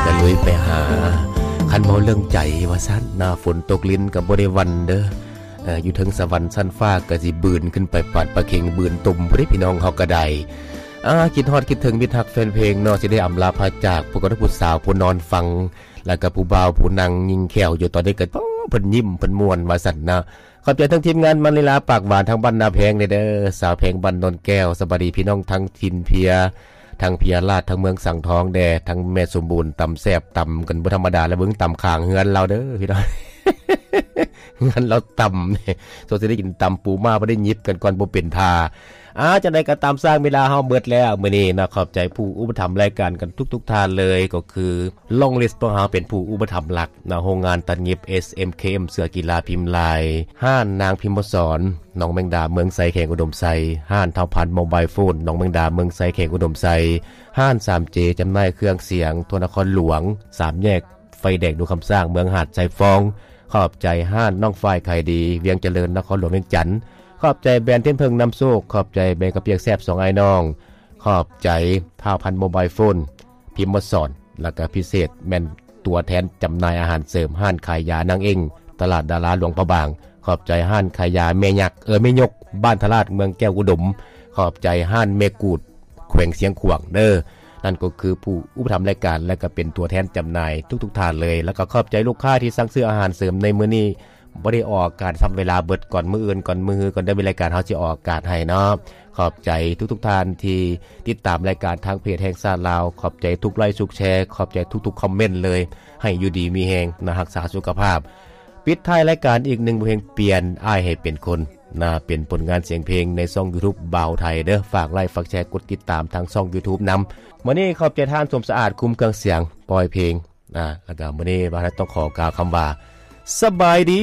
ກະລຸຍໄປຫາ ຄັນເວົ້າເລື່ອງໃຈວ່າຊັ້ນນະ ຝົນຕົກລິນກະບໍ່ໄດ້ຫວັ່ນເດີ ເອີ ຢູ່ເທິງສະຫວັນຊັ້ນຟ້າກະຊິບືນຂຶ້ນໄປປາດປາເຄັງບືນຕຸ່ມພຸ້ນເດ້ ພີ່ນ້ອງເຮົາກະໄດ້ ອາ ຄິດຮອດຄິດເຖິງມິດຮັກແຟນເພງເນາະ ຊິໄດ້ອຳລາພາຈາກ ພວກເຮົາຜູ້ສາວຜູ້ນອນຟັງ ແລ້ວກະຜູ້ບ່າວຜູ້ນັ່ງຍິງແຂ້ວຢູ່ຕອນນີ້ກະ ໂອ້ ເພິ່ນຍິ້ມເພິ່ນມ່ວນວ່າຊັ້ນນະ. ຂອບໃຈທັງທີມງານມະນິລາປາກຫວານທາງບ້ານນາແພງເດີ ສາວແພງບ້ານໂນນແກ້ວ ສະບາຍດີພີ່ນ້ອງທັງຖິ່ນເພຍ ທັງເພຍລາດ ທັງເມືອງສັງທອງແດ່ ທັງແມ່ສົມບູນ ຕຳແຊບຕຳກັນບໍ່ທຳມະດາ ລະເບິ່ງຕຳຂ້າງເຮືອນລາວເດີພີ່ນ້ອງ ເຮືອນລາວຕຳ ສົງໄສໄດ້ກິນຕຳປູມ້າ ບໍ່ໄດ້ຫຍິບກັນກ່ອນບໍ່ເປັນທ່າ. ອາ ຈັ່ງໃດກະຕາມ ຊ່າງເວລາເຮົາເບິດແລ້ວມື້ນີ້ເນາະ ຂອບໃຈຜູ້ອຸປະຖຳລາຍການກັນທຸກໆທ່ານເລີຍ ກໍຄື ລອງລິສພວກເຮົາເປັນຜູ້ອຸປະຖຳຫຼັກເນາະ ໂຮງງານຕັດຫຍິບ ເອສເອັມເຄເອັມ ເສືອກິລາພິມລາຍ ຮ້ານນາງພິມມະສອນ ໜອງແມງດາ ເມືອງໄຊ ແຂວງອຸດົມໄຊ ຮ້ານທ້າວພັນໂມບາຍໂຟນ ໜອງແມງດາ ເມືອງໄຊ ແຂວງອຸດົມໄຊ ຮ້ານສາມເຈ ຈຳໜ່າຍເຄື່ອງສຽງ ທົ່ວນະຄອນຫຼວງ ສາມແຍກໄຟແດງ ດົງຄຳຊ້າງ ເມືອງຫາດຊາຍຟອງ ຂອບໃຈຮ້ານນ້ອງຝ້າຍຂາຍດີ ວຽງຈະເລີນ ນະຄອນຫຼວງວຽງຈັນ ຂອບໃຈແບຣນເທນເຜິ້ງນຳໂຊກ ຂອບໃຈແບຣນເຂົ້າປຽກແຊບສອງອ້າຍນ້ອງ ຂອບໃຈທ້າວພັນໂມບາຍໂຟນ ພິມມະສອນ ແລ້ວກະພິເສດແມ່ນຕົວແທນຈຳໜ່າຍອາຫານເສີມ ຮ້ານຂາຍຢານາງເອັງ ຕະຫຼາດດາລາຫຼວງພະບາງ ຂອບໃຈຮ້ານຂາຍຢາແມ່ຍັກ ເອີ ແມ່ຍົກ ບ້ານທະລາດ ເມືອງແກ້ວອຸດົມ ຂອບໃຈຮ້ານແມ່ກູດ ແຂວງຊຽງຂວາງເດີ. ນັ້ນກໍຄືຜູ້ອຸປະຖຳລາຍການ ແລະ ກະເປັນຕົວແທນຈຳໜ່າຍທຸກໆທ່ານເລີຍ ແລ້ວກໍຂອບໃຈລູກຄ້າທີ່ສັ່ງຊື້ອາຫານເສີມໃນມື້ນີ້ ບໍ່ໄດ້ອອກອາກາດຊ້ຳ ເວລາເບິດ ກ່ອນມື້ອື່ນ ກ່ອນມື້ຮື ກ່ອນເດືອນມີລາຍການ ເຮົາຊິອອກອາກາດໃຫ້ເນາະ. ຂອບໃຈທຸກໆທ່ານທີ່ຕິດຕາມລາຍການທາງເພຈແຫ່ງຊາດລາວ ຂອບໃຈທຸກໄລ ທຸກແຊ ຂອບໃຈທຸກໆຄອມເມັນເລີຍ ໃຫ້ຢູ່ດີມີແຮງນະ ຮັກສາສຸຂະພາບ. ປິດທ້າຍລາຍການອີກໜຶ່ງບົດເພງ ປ່ຽນອ້າຍໃຫ້ເປັນຄົນນະ ເປັນຜົນງານສຽງເພງໃນຊ່ອງຢູທູບບ່າວໄທເດີ ຝາກໄລ ຝາກແຊ ກົດຕິດຕາມທາງຊ່ອງຢູທູບນຳ. ມື້ນີ້ຂອບໃຈທ່ານສົມສະອາດ ຄຸມເຄື່ອງສຽງ ປ່ອຍເພງ ອາ ແລ້ວກະມື້ນີ້ບ່າວໄທຕ້ອງຂໍກ່າວຄຳວ່າ ສະບາຍດີ.